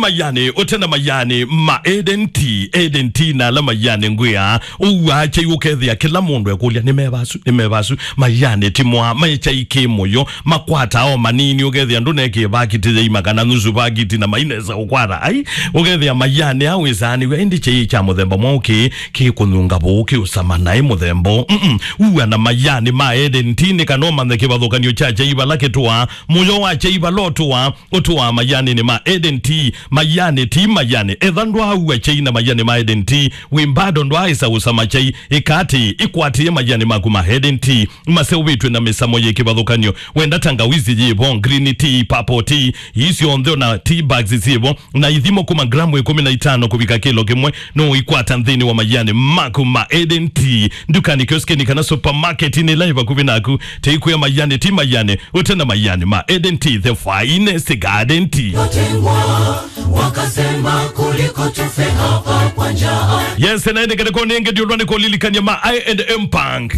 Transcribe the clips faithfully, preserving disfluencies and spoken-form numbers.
Mayani, ũte na mayani ma Eden Tea, Eden Tea na ala mayani ngwĩa, ũua kyai ũkethĩa kĩla mũndũ ekũlya, "Nĩ meva asu, nĩ meva asu?" Mayani ti mwa, me kyai kĩ mũyo, makwataa o manini, ũkethĩa ndũnekĩe vakiti ya ima kana nusu vakiti na mainesa ũkwata. Ai, ũkethĩa mayani aa wĩsaanĩw'a, ĩndĩ kyai kya mũthemba mwaũ kĩ, kĩkũnyunga vũũ, kĩũsama naĩ mũthemba ũũ. Mm-mm. Ũua na mayani ma Eden Tea nĩ kana ũmanthe kĩvathũkany'o kya kyai vala kĩtũaa, mũyo wa kyai vala ũtũaa, ũtũaa mayanĩnĩ ma Eden Tea. Mayani ti mayani. Etha ndwaaua kyai na mayani ma Eden Tea, wĩ mbado ndwaaĩsa ũsama kyai, ĩka atĩĩ, ĩkwatĩe mayani maku ma Eden Tea maseũvĩtw'e na mĩsamo yĩ kĩvathũkany'o. Wenda tangawizi yĩvo, green tea, purple tea, ii syonthe, ona tea bags syĩvo, na ithimo kuma gramu ĩkũmi na itano kũvika kĩlo kĩmwe, no ũikwata nthĩnĩ wa mayani maku ma Eden Tea, ndukani, kioskini kana supermarketinĩ ĩla ĩ vakuvĩ naku. Teikwĩa mayani ti mayani, ũte na mayani ma Eden Tea, the finest garden tea. Watengwa, wakasema kuliko tufe hapa kwa njaa. Yes, na ĩndĩ kĩrĩko nĩngĩ ndiũlwa nĩ kũlilikany'a ma I and M Bank.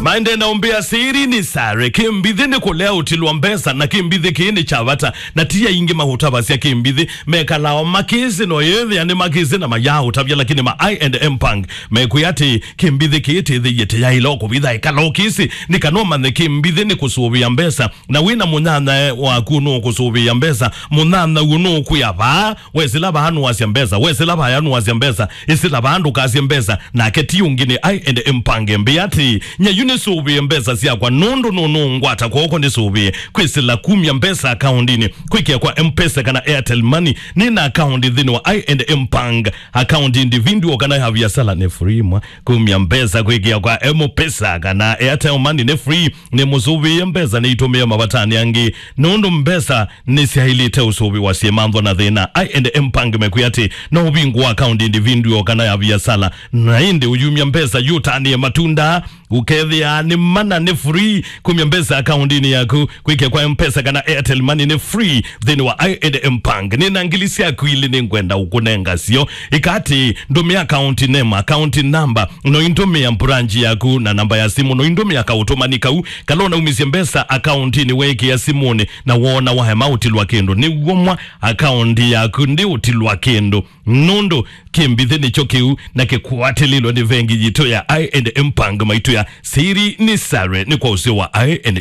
Maende na ũmbĩa siri ni sare, kĩmbithĩ nĩ kũlea ũtilwa mbesa, na kĩmbithĩ kĩĩ nĩ kya vata, na ti aingĩ maũtavasya kĩmbithĩ, mekalaa o makĩsĩ no yĩthĩa nĩ makĩsĩ na mayaa ũtavya, lakini ma I and M Bank mekwĩa atĩ kĩmbithĩ kĩĩ tĩthĩie tĩyaĩle o kũvitha ĩkala ũkĩsĩ, nĩ kana ũmanthe kĩmbithĩ nĩ kũsũvĩa mbesa, na wĩ na mũnyanyae waku nũkũsũvĩa mbesa, mũnyanya ũũ nũkwĩa vaa, wesĩla vaa nũasya mbesa, wesĩla vaya nũasya mbesa, ĩsĩla vaa ndũkasye mbesa, nake ti ũngĩ nĩ I and M Bank. Mbĩa atĩ, "Nyayu nĩsũvĩe mbesa syakwa nũndũ nũnũngwata kw'oko nĩsũvĩe kwĩsĩla kumya mbesa akaundinĩ, kwĩkĩa kwa M-Pesa kana Airtel Money. Nĩ na akaũndi nthĩnĩ wa I and M Bank, akaũndi individual kana ya viasala nĩ free mwa. Kumya mbesa kwĩkĩa kwa M-Pesa kana Airtel Money nĩ free. Nĩmũsũvĩe mbesa nĩitũmĩe mavatanĩ angĩ, nũndũ mbesa nĩsyaĩlĩte ũsũvĩwa syĩmanthwa na thĩna." I and M Bank mekwĩa atĩ no ũvingũa akaũndi individual kana ya viasala, na ĩndĩ ũyumya mbesa yũtanĩe matunda, ũkethĩa nĩ mana nĩ free. Kumya mbesa akaũndinĩ yaku, kwĩkĩa kwa M-Pesa kana Airtel Money nĩ free nthĩnĩ wa I and M Bank. Nĩ na ngili syaku ilĩ nĩngwenda ũkũnenga syo. Ĩka atĩ, ndũmĩa account name, account number, no indũmĩa branch yaku na namba ya simũ, no indũmĩa kaũtũmani kau kala ũnaumisye mbesa akaũndinĩ weekĩa simũnĩ, na woona waema ũtilwa kĩndũ. Nĩw'o mwa akaũndi yaku ndĩũtilwa kĩndũ, nũndũ kĩmbithĩ nĩkyo kĩu na kĩkwatĩlĩlwe nĩ vengi yitũ ya I and M Bank. Maitũ ya siri ni sare nĩ kwa ũseo wa I and